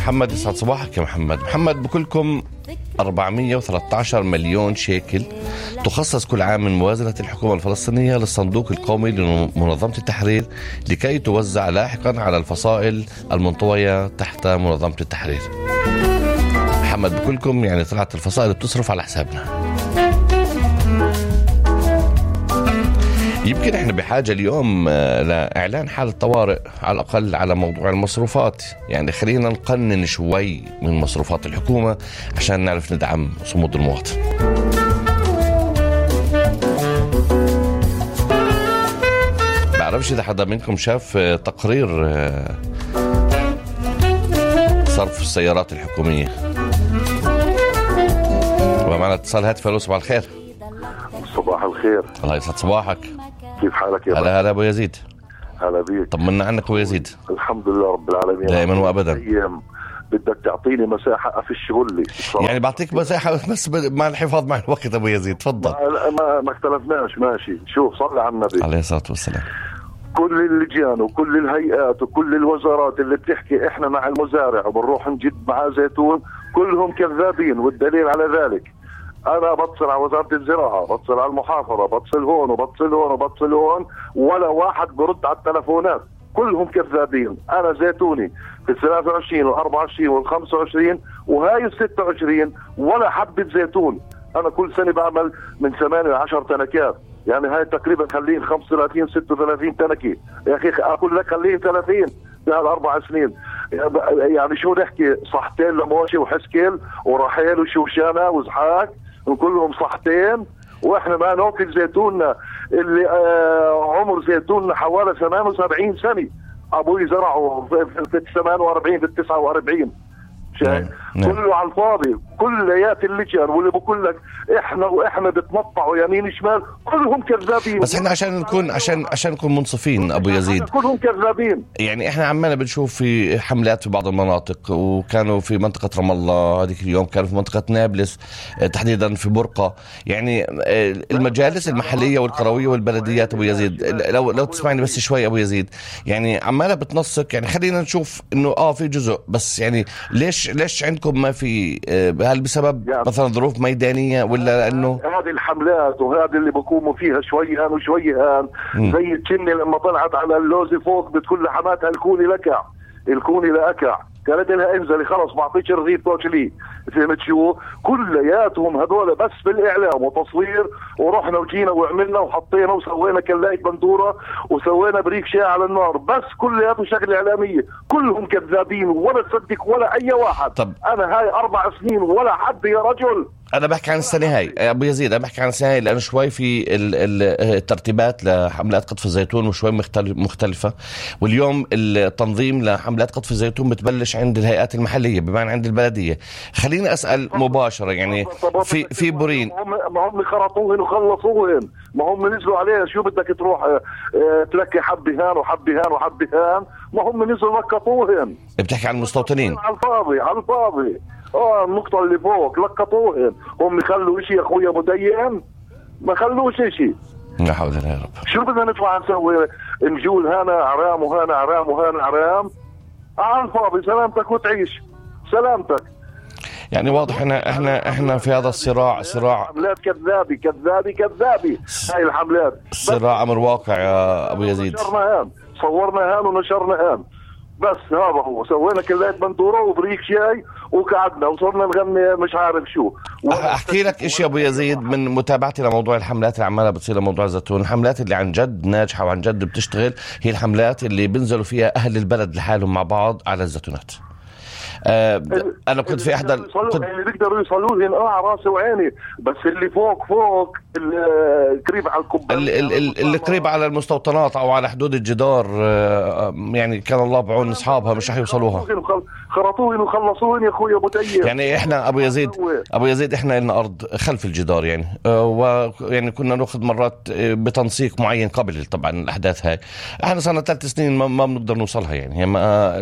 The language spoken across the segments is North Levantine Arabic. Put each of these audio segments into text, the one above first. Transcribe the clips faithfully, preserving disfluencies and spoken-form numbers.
محمد. يسعد صباحك يا محمد. محمد، بكلكم أربعمية وثلاثة عشر مليون شيكل تخصص كل عام من موازنة الحكومة الفلسطينية للصندوق القومي لمنظمة التحرير لكي توزع لاحقا على الفصائل المنطوية تحت منظمة التحرير. محمد، بكلكم يعني طلعت الفصائل بتصرف على حسابنا. يمكن احنا بحاجة اليوم لإعلان حالة طوارئ على الأقل على موضوع المصروفات. يعني خلينا نقنن شوي من مصروفات الحكومة عشان نعرف ندعم صمود المواطن. بعرفش إذا حدا منكم شاف تقرير صرف السيارات الحكومية. ومعنا اتصال هاتف. الو، صباح الخير. صباح الخير. الله يسعد صباحك. كيف حالك يا هلا هلا ابو يزيد. هلا بيك. طمنا عنك ابو يزيد. الحمد لله رب العالمين دائما وابدا. بدك تعطيني مساحه افش غلي يعني بعطيك مساحه بس مع الحفاظ مع الوقت. ابو يزيد تفضل. ما ما, ما اختلفناش. ماشي. شوف، صلي على النبي عليه الصلاه والسلام. كل اللجان وكل الهيئات وكل الوزارات اللي بتحكي احنا مع المزارع وبنروح نجد معاه زيتون كلهم كذابين، والدليل على ذلك انا بتصل على وزارة الزراعة، بتصل على المحافظة، بتصل هون وبتصل هون وبتصل هون، ولا واحد برد على التلفونات، كلهم كذابين. انا زيتوني في الثلاثة وعشرين والأربعة وعشرين والخمسة وعشرين وهاي الستة وعشرين ولا حبة زيتون. انا كل سنة بعمل من ثمانية لعشر تنكات، يعني هاي تقريبا خلين خمسة وثلاثين ستة وثلاثين تنكي. يا اخي اقول لك خلين ثلاثين بهالاربع سنين. يعني شو نحكي؟ صحتين لموشي وحسكيل ورحيل وشوشانة وزحاك وكلهم صحتين، واحنا ما ناكل زيتوننا اللي آه عمر زيتوننا حوالي ثمانية وسبعين سنة. ابوي زرعه في الثمانية وأربعين في التسعة وأربعين. شايف؟ كله على الفاضي. كليات اللجان واللي بقول لك احنا واحنا بتنطعوا يمين شمال كلهم كذابين. بس احنا عشان نكون عشان عشان نكون منصفين ابو يزيد، كلهم كذابين. يعني احنا عمالنا بنشوف في حملات في بعض المناطق، وكانوا في منطقة رام الله هذيك اليوم، كانوا في منطقة نابلس تحديدا في برقة. يعني المجالس المحلية والقروية والبلديات ابو يزيد، لو لو تسمعني بس شوي ابو يزيد، يعني عمالة بتنسق. يعني خلينا نشوف انه اه في جزء، بس يعني ليش ليش عندكم ما في؟ هل بسبب يعني مثلا ظروف ميدانية ولا لأنه هذه الحملات وهذه اللي بقوموا فيها شوي هان وشوي هان؟ زي التشني لما طلعت على اللوزي فوق بتقول لحماتها الكوني لكع الكوني لأكع، قالت لها انزلي خلص ما اعطيش رغيف توكلي. فهمت شو؟ كلياتهم هذول بس بالاعلام وتصوير، ورحنا وجينا وعملنا وحطينا وسوينا كلاية بندوره وسوينا بريك شاي على النار، بس كلياته شغله اعلاميه. كلهم كذابين ولا تصدق ولا اي واحد. طب انا هاي اربع سنين ولا حد يا رجل. أنا بحكي عن السنة هاي أبو يزيد، أنا بحكي عن السنة هاي لأنه شوي في الترتيبات لحملات قطف الزيتون وشوي مختلفة، واليوم التنظيم لحملات قطف الزيتون بتبلش عند الهيئات المحلية بمعنى عند البلدية. خليني أسأل مباشرة، يعني في في بورين ما هم خرطوهن وخلصوهن، ما هم نزلوا عليها شو بدك تروح تلقي حبي هان وحبي هان وحبي هان، ما هم نزلوا لقطوهن. بتحكي عن المستوطنين على الفاضي على الفاضي. اه النقطة اللي فوق لقطوهن. هم يخلوا اشي يا اخويا مدين؟ ما خلوش اشي. لا حول ولا يا رب. شو بدنا نطلع نسوي؟ نجول هنا عرام وهنا عرام وهنا عرام على الفاضي. سلامتك وتعيش سلامتك. يعني واضح احنا احنا احنا في هذا الصراع صراع حملات كذابي كذابي كذابي. هاي الحملات صراع امر واقع يا ابو يزيد. نشرنا هان صورنا هان ونشرنا هان، بس هذا هو. سوينا كلاية بندورة وبريك شاي وقعدنا وصرنا نغني مش عارف شو. احكي لك اشي ابو يزيد من متابعتي لموضوع الحملات اللي عمالها بتصير لموضوع الزيتون. الحملات اللي عن جد ناجحة وعن جد بتشتغل هي الحملات اللي بينزلوا فيها اهل البلد لحالهم مع بعض على الزيتونات. آه انا كنت في احدى كنت... اللي بيقدروا يوصلوا لي اه على راسي وعيني، بس اللي فوق فوق اللي قريب على الكوبايه اللي, اللي, اللي قريب على المستوطنات او على حدود الجدار، آه يعني كان الله بعون اصحابها مش رح يوصلوها. خرطوهن وخلصوهن يا اخويا ابو تيم. يعني احنا ابو يزيد ابو يزيد احنا لنا ارض خلف الجدار، يعني آه ويعني كنا ناخذ مرات بتنسيق معين قبل طبعا الاحداث هاي. احنا صار لنا ثلاث سنين ما, ما بنقدر نوصلها. يعني ما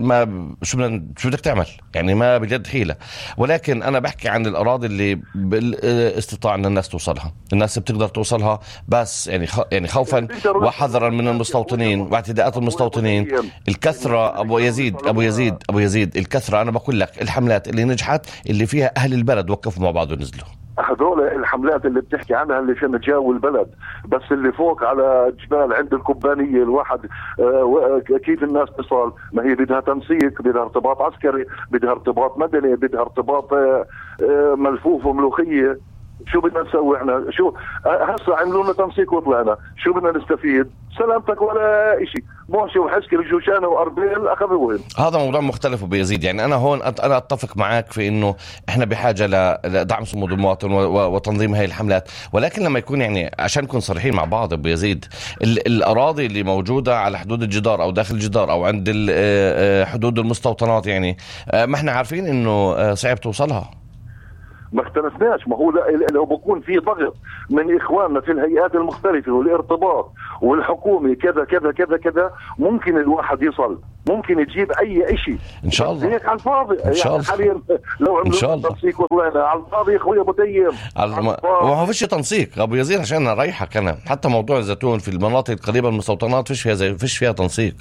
ما شو بدنا شو بدك تعمل، يعني ما بجد حيلة. ولكن أنا بحكي عن الأراضي اللي بالاستطاع أن الناس توصلها، الناس بتقدر توصلها، بس يعني يعني خوفا وحذرا من المستوطنين واعتداءات المستوطنين. الكثرة أبو يزيد أبو يزيد أبو يزيد الكثرة، أنا بقول لك الحملات اللي نجحت اللي فيها أهل البلد وقفوا مع بعض ونزلوا. هذول الحملات اللي بتحكي عنها اللي عشان تجاوي البلد، بس اللي فوق على جبال عند الكوبانية الواحد آه كيف الناس تصل؟ ما هي بدها تنسيق، بدها ارتباط عسكري، بدها ارتباط مدني، بدها ارتباط آه آه ملفوف وملوخية. شو بدنا نسوي احنا؟ شو هسه عملوا لنا تنسيق وطلعنا، شو بدنا نستفيد؟ سلامتك ولا إشي. موشي وحسكي الجوشانة وأربيل أخذوهم. هذا موضوع مختلف وبيزيد. يعني أنا هون أنا أتفق معك في إنه إحنا بحاجة لدعم صمود المواطن وتنظيم هاي الحملات، ولكن لما يكون يعني عشان نكون صريحين مع بعض بيزيد، الأراضي اللي موجودة على حدود الجدار أو داخل الجدار أو عند حدود المستوطنات، يعني ما إحنا عارفين إنه صعب توصلها. ما اختلفناش، ما هو لو بكون في ضغط من إخواننا في الهيئات المختلفة والارتباط والحكومة كذا كذا كذا كذا ممكن الواحد يصل، ممكن يجيب أي إشي إن شاء الله. هيك على الفاضي إن شاء الله. حاليا لو عملوا تنسيق وطلعنا على الفاضي يا أخوي أبو تيم. وما فيش تنسيق أبو يزيد عشان نريحك. أنا حتى موضوع الزيتون في المناطق القريبة من المستوطنات فيش فيها زي فيش فيها تنسيق،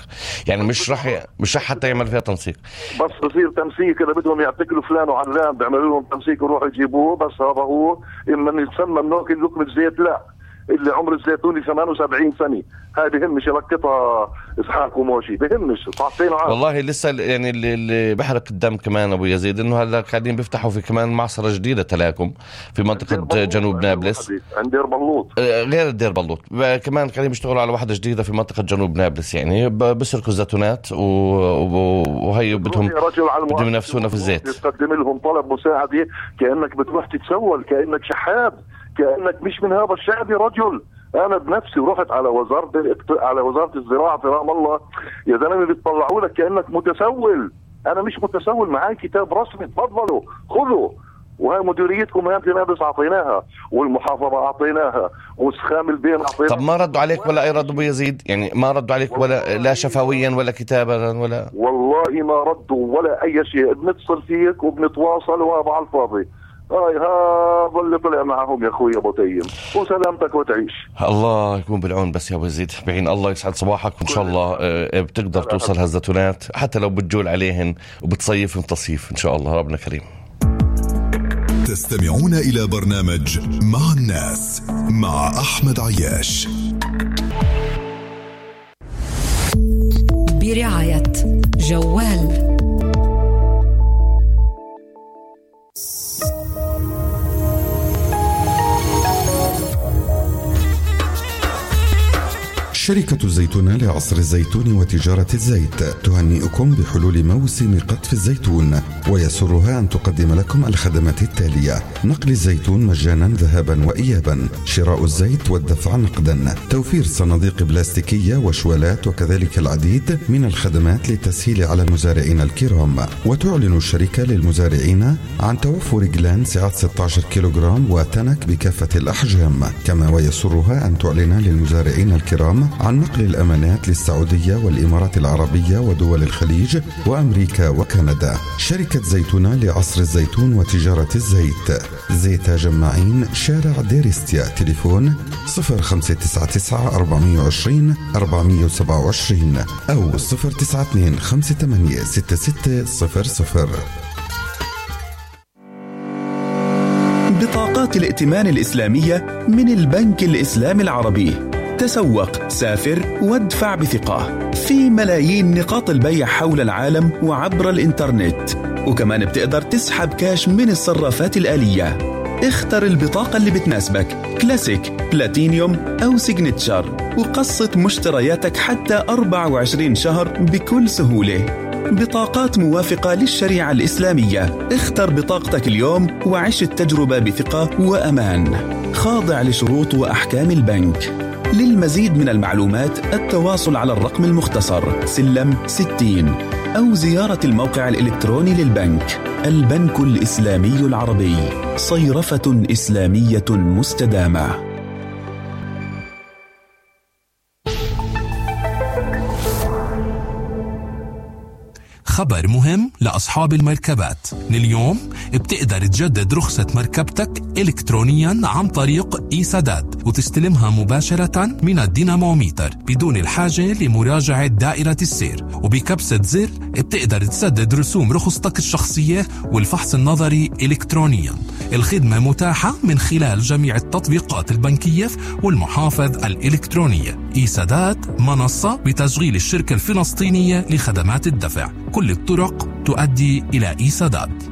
يعني مش رح مش رح حتى يعمل فيها تنسيق. بس بصير تنسيق كده بدهم يعتقلوا فلان وعلان بيعملوا لهم تنسيق ويروحوا يجيبوه، بس هذا هو إما يتسمى منوكل لكم الزيت. لا، اللي عمر الزيتوني ثمانية وسبعين سنة، هاي بهمش لقطها إسحاق وموشي، بهمش صعبتين عام. والله لسه يعني اللي بحرق الدم كمان أبو يزيد إنه هلا قاعدين بيفتحوا في كمان معصرة جديدة تلاكم في منطقة جنوب نابلس عند دير بلوط، غير الدير بلوط كمان قاعدين بيشتغلوا على واحدة جديدة في منطقة جنوب نابلس، يعني بسرقوا الزيتونات وهي بدهم بدهم ينافسونا في الزيت. تقدم لهم طلب مساعدة كأنك بتروح تتسول، كأنك شحات، كأنك مش من هذا الشعب يا رجل. أنا بنفسي رحت على وزارة على وزارة الزراعة في رام الله، يا زلمة بيطلعوا لك كأنك متسول. أنا مش متسول، معاي كتاب رسمي، تفضلوا خذوا. وهي مديريتكم هي نابلس أعطيناها، والمحافظة أعطيناها، وسخام البين أعطيناها. طب ما ردوا عليك ولا أي رد أبو يزيد؟ يعني ما ردوا عليك ولا لا شفويا ولا كتابا ولا؟ والله ما ردوا ولا أي شيء. بنتصل فيك وبنتواصل وهذا على الفاضي. هاي هذا اللي طلع معهم يا اخوي ابو تيم، وسلامتك وتعيش. الله يكون بالعون. بس يا ابو يزيد بعين الله يسعد صباحك، وان شاء الله بتقدر توصل هالزيتونات حتى لو بتجول عليهن وبتصيفهم تصيف ان شاء الله. ربنا كريم. تستمعون الى برنامج مع الناس مع احمد عياش برعاية جوال. شركة الزيتون لعصر الزيتون وتجارة الزيت تهنئكم بحلول موسم قطف الزيتون، ويسرها أن تقدم لكم الخدمات التالية: نقل الزيتون مجانا ذهابا وإيابا، شراء الزيت والدفع نقدا، توفير صناديق بلاستيكية وشوالات، وكذلك العديد من الخدمات للتسهيل على المزارعين الكرام. وتعلن الشركة للمزارعين عن توفر جلان سعة ستة عشر كيلوغرام وتنك بكافة الأحجام، كما ويسرها أن تعلن للمزارعين الكرام عن نقل الأمانات للسعودية والإمارات العربية ودول الخليج وأمريكا وكندا. شركة زيتون لعصر الزيتون وتجارة الزيت، زيت جماعين، شارع ديرستيا، تليفون صفر خمسة تسعة تسعة أربعة عشرين أربعة سبعة وعشرين أو صفر تسعة اثنين خمسة ثمانية ستة ستة صفر صفر. بطاقات الائتمان الإسلامية من البنك الإسلامي العربي. تسوق، سافر، وادفع بثقة في ملايين نقاط البيع حول العالم وعبر الإنترنت، وكمان بتقدر تسحب كاش من الصرافات الآلية. اختر البطاقة اللي بتناسبك، كلاسيك، بلاتينيوم أو سيجنتشر، وقسط مشترياتك حتى أربعة وعشرين شهر بكل سهولة. بطاقات موافقة للشريعة الإسلامية. اختر بطاقتك اليوم وعيش التجربة بثقة وأمان، خاضع لشروط وأحكام البنك. للمزيد من المعلومات التواصل على الرقم المختصر سلم ستين أو زيارة الموقع الإلكتروني للبنك. البنك الإسلامي العربي، صيرفة إسلامية مستدامة. خبر مهم لأصحاب المركبات. من اليوم بتقدر تجدد رخصة مركبتك إلكترونيا عن طريق إي سداد وتستلمها مباشرة من الديناموميتر بدون الحاجة لمراجعة دائرة السير، وبكبسة زر بتقدر تسدد رسوم رخصتك الشخصية والفحص النظري إلكترونيا. الخدمة متاحة من خلال جميع التطبيقات البنكية والمحافظ الإلكترونية. إي سداد منصة بتشغيل الشركة الفلسطينية لخدمات الدفع. كل الطرق تؤدي إلى إي سداد.